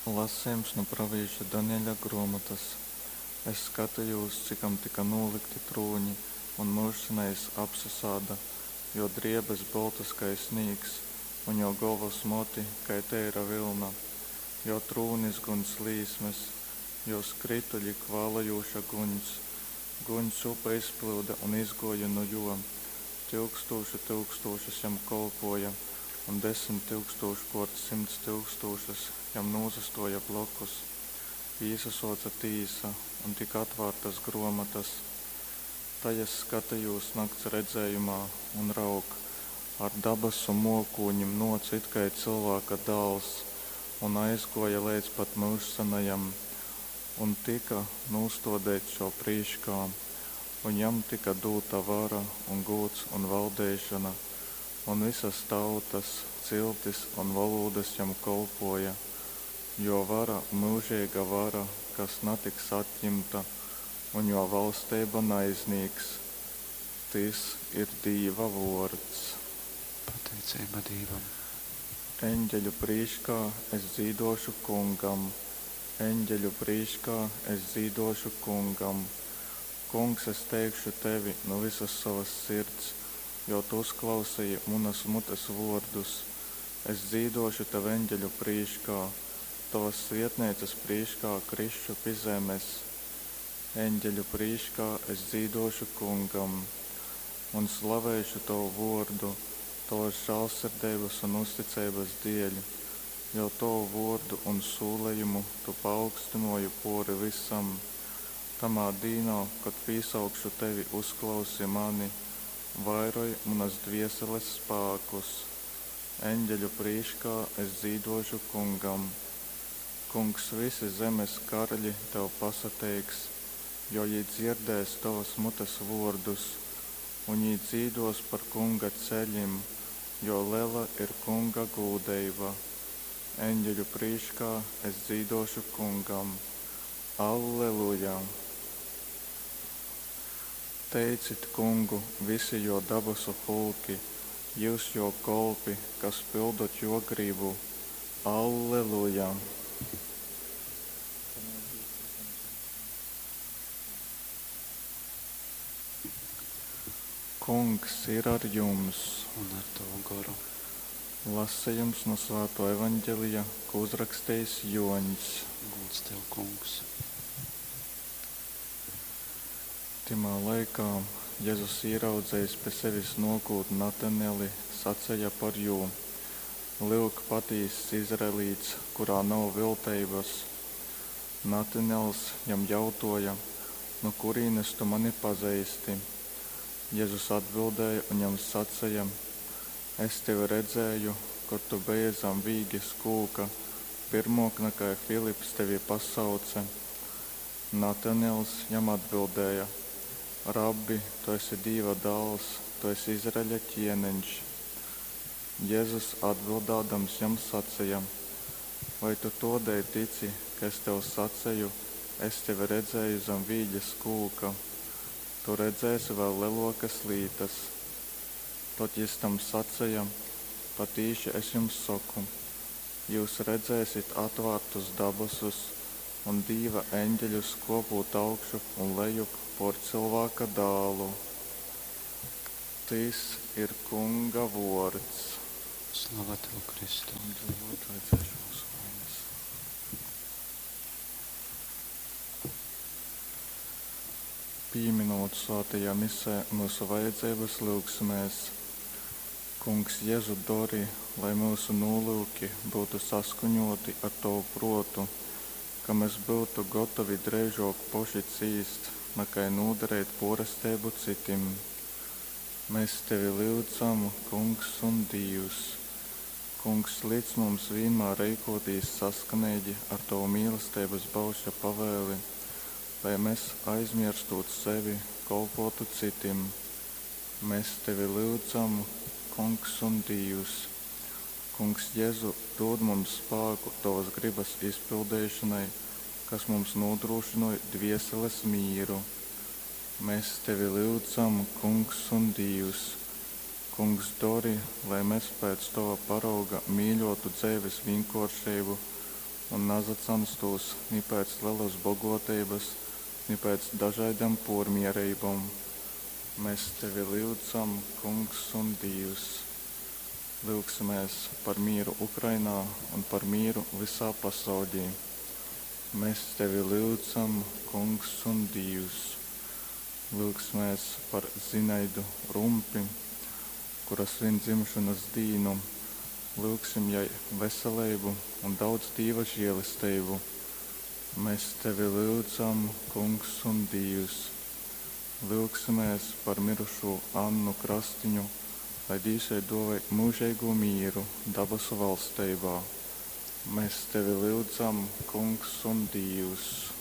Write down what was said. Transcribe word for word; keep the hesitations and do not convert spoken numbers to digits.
Lasejums nu pravīša Danieļa gruomotas. Es skatejūs, cikom tyka nūlykti trūņi un Myužsenejais apsasāda, Jō driebes boltas kai snīgs, un jō golvas moti kai teira vylna, jō trūnis guņs līsmes, jō skrytuļi kvālojūša guņs. Guņs upe izplyuda un izgōja nu jō. Tyukstūšu tyukstūšas jam kolpōja un desmit tyukstūškōrt symts tyukstūšas jam nūsastōja blokus. Īsasōce tīsa un tyka atvārtas grōmotas. Tai es skatejūs nakts redzējumā, un raug, ar dabasu mōkūņim nōce it kai Cylvāka Dāls un aizgōja leidz pat Myužsenajam, un tyka nūstōdeits Jō prīškā. Un jam tyka dūta vara un gūds un valdeišona, un vysas tautas, ciltis un volūdas jam kolpōja. Jō vara myužeiga vara, kas natiks atjimta, un jō valsteiba naiznīks. Tys ir Dīva vōrds. Pateiceiba Dīvam. Eņgeļu prīškā es dzīdōšu Kungam, eņgeļu prīškā es dzīdōšu Kungam. Kungs, es teikšu tevi nu vysas sovas sirds, jo tu uzklauseji munas mutes vōrdus. Es dzīdōšu tev eņgeļu prīškā, tovas svietneicas prīškā krisšu pi zemes. Eņgeļu prīškā es dzīdōšu Kungam un slavēšu tovu vōrdu tovas žālsirdeibas un uzticeibas dieļ, jo tovu vōrdu un sūlejumu tu paaugstynōji pōri vysam. Tamā dīnā, kod pīsaukšu tevi, uzklausi mani, vairoj munas dvieseles spākus. Eņgeļu prīškā es dzīdōšu Kungam. Kungs, vysi zemes karaļi tev pasateiks, jo jī dzierdēs tovas mutes vōrdus, un jī dzīdōs par Kunga ceļim, jo lela ir Kunga gūdeiba. Eņgeļu prīškā es dzīdōšu Kungam. Alleluja! Teicit Kungu vysi jō dabasu pulki, jyus jō kolpi, kas pyldot jō grybu. Alleluja! Kungs ir ar jums! Un ar tavu goru. Lasejums nu Svātō Evaņgelija, ko uzrakstījis Jōņs. Gūds tev, Kungs. Tymā laikā Jezus, īraudzejis pi sevis nōkūt Nataneli, saceja par jū: Lyuk, patīss izraelīts, kurā nav vilteibas. Natanels jam jautōja: Nu kurīnes tu mani pazeisti? Jezus atbildēja un jam saceja: Es tevi redzēju, kod tu beji zam vīges kūka, pyrmōk nakai Filips tevi pasauce. Natanels jam atbildēja: Rabbi, tu esi Dīva Dāls, tu esi Izraeļa ķieneņš. Jezus atbildādams jam saceja: Vai tu tōdēļ tici, ka es tev saceju, es tevi redzēju zam vīges kūka? Tu redzēsi vēl lelōkas lītas. Tod jys tam saceja: Patīši es jums soku, jyus redzēsit atvārtus dabasus un Dīva eņgeļus kōpūt augšup un lejup pōr Cylvāka Dālu. Tys ir Kunga vōrds. Slava tev, Kristu. Vajadzēšu mūsu vainas. Pīminot svētajā misē myusu vajadzeibas, lyugsimēs. Kungs Jezu, dori, lai myusu nūlyuki byutu saskaņōti ar tovu prōtu, ka mes byutu gotovi dreižōk poši cīst, nakai nūdareit pōresteibu cytim. Mes tevi lyudzam, Kungs un Dīvs. Kungs, lic mums vīnmār reikōtīs saskaneigi ar tovu mīlesteibas baušļa pavēli, lai mes, aizmierstūt sevi, kolpōtu cytim. Mes tevi lyudzam, Kungs un Dīvs. Kungs Jezu, dūd mums spāku tovas grybas izpildeišonai, kas mums nūdrūšynoj dvieseles mīru. Mes tevi lyudzam, Kungs un Dīvs. Kungs, dori, lai mes pēc tova parauga mīļōtu dzeives vīnkōršeibu un nasacanstūs ni pēc lelas bogōteibas, ni pēc dažaidom pōrmiereibom. Mes tevi lyudzam, Kungs un Dīvs. Lyugsimēs par mīru Ukrainā un par mīru vysā pasauļī. Mes tevi lyudzam, Kungs un Dīvs. Lyugsimēs par Zinaidu Rumpi, kura svin dzimšonas dīnu. Lyugsim jai veseleibu un daudz Dīva žēlesteibu. Mes tevi lyudzam, Kungs un Dīvs. Lyugsimēs par mirušū Annu Krastiņu, lai Dīvs jai duovoj myužeigū mīru dabasu valsteibā. Mes tevi lyudzam, Kungs un Dīvs.